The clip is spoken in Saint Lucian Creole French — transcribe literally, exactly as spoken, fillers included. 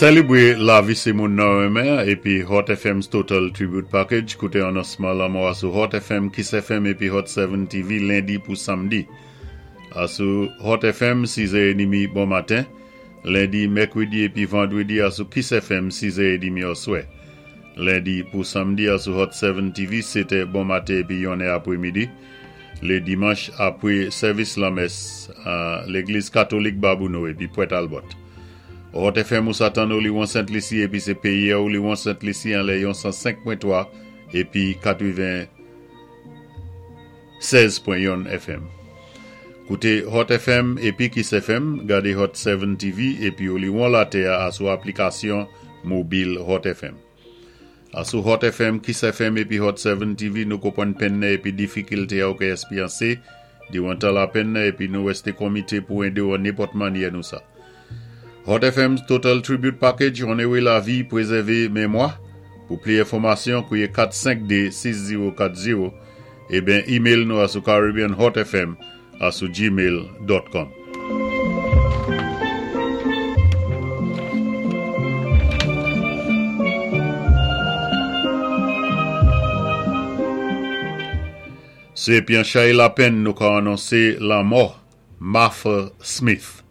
Sélébwé lavi sé moun nou renmen épi Hot FM's Total Tribute Package kouté anonsman lanmò sou Hot FM, Kiss FM épi Hot Seven TV lendi pou samdi. A sou Hot FM sizè édmi bon maten, lendi, mèkwédi épi vandwédi a sou Kiss FM sizè édmi oswè. Lendi pou samdi a sou Hot Seven TV, sétè bon maten épi yon apwémidi. Lé dimanch apwé sèvis lamès a légliz katolik Babonneau épi Port Talbot. Hot FM ou sa tann Oliwon Sent Lisi épi sé péyi Oliwon Sent Lisi anlè yon san senk pwen twa épi katwenn-sèz pwen yon FM. Kouté Hot FM épi Kiss FM, gadé Hot Seven TV épi Oliwon Latè a sou aplikasyon mobil Hot FM. A sou Hot FM, Kiss FM épi Hot Seven TV, nou konpwann penn épi difikilté ou ka èspéryansé, diwan tan lapenn épi nou wésté komité pou édé ou an nenpòt mannyè nou sa. Hot FM Total Tribute Package, onoré lavi, pwézèvé mémwa. Pou plis enfòmasyon, kouwé kat senk de sis zewo kat zewo ébyen email nou a sou caribbeanhotfm a sou gmail.com. Sé pi an chay lapenn nou ka anonsé lanmò Martha Smith.